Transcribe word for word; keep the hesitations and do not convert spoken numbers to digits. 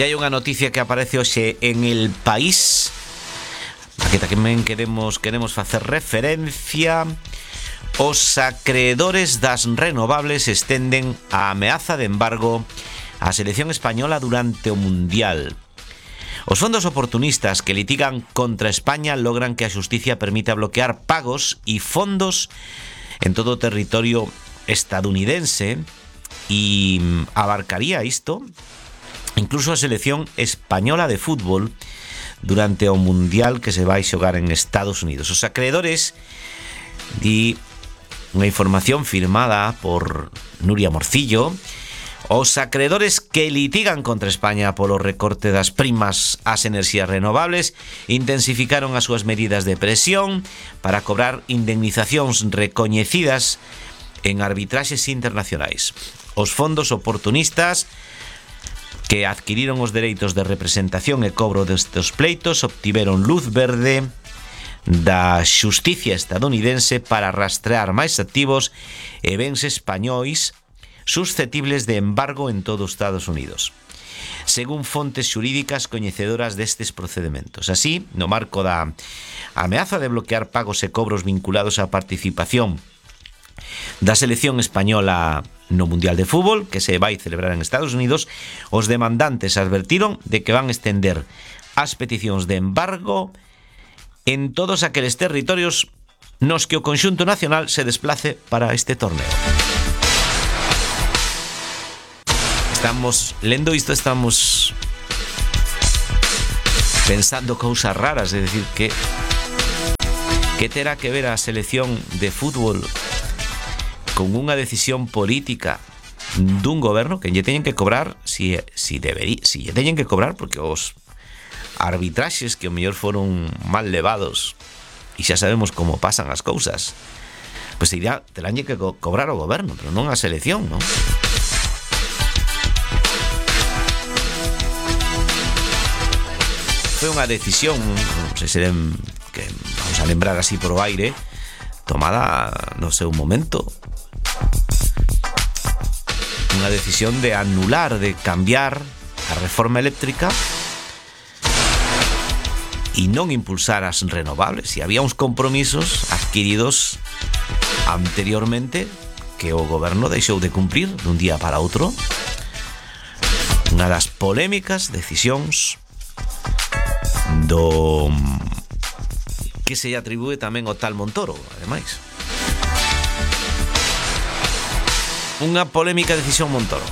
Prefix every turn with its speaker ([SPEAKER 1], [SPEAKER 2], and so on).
[SPEAKER 1] E hai unha noticia que aparece hoxe en El País, a que tamén queremos, queremos facer referencia. Os acreedores das renovables estenden a ameaza de embargo á selección española durante o Mundial. Os fondos oportunistas que litigan contra España logran que a xusticia permita bloquear pagos e fondos en todo o territorio estadounidense e abarcaría isto incluso a selección española de fútbol durante o Mundial que se vai xogar en Estados Unidos. Os acreedores, di unha información firmada por Nuria Morcillo, os acreedores que litigan contra España polo recorte das primas ás enerxías renovables intensificaron as súas medidas de presión para cobrar indemnizacións recoñecidas en arbitraxes internacionais. Os fondos oportunistas que adquiriron os dereitos de representación e cobro destes pleitos obtiveron luz verde da xusticia estadounidense para rastrear máis activos e bens españois susceptibles de embargo en todo os Estados Unidos, según fontes xurídicas coñecedoras destes procedementos. Así, no marco da ameaza de bloquear pagos e cobros vinculados á participación da selección española no Mundial de Fútbol, que se vai celebrar en Estados Unidos, os demandantes advertiron de que van estender as peticións de embargo en todos aqueles territorios nos que o conxunto nacional se desplace para este torneo. Estamos lendo isto, estamos pensando cousas raras, é dicir, que que terá que ver a selección de fútbol con unha decisión política dun goberno que lle teñen que cobrar, si, si, deberí, si lle teñen que cobrar, porque os arbitraxes que o mellor foron mal levados e xa sabemos como pasan as cousas, pois pues irá, terán que co- cobrar o goberno, pero non a selección, non? Foi unha decisión, non sei se den, que vamos a lembrar así por o aire, tomada no seu momento. Unha decisión de anular, de cambiar a reforma eléctrica e non impulsar as renovables. E había uns compromisos adquiridos anteriormente que o goberno deixou de cumprir dun día para outro. Unha das polémicas decisións do que se atribúe tamén ao tal Montoro, ademais. Unha polémica decisión Montoro.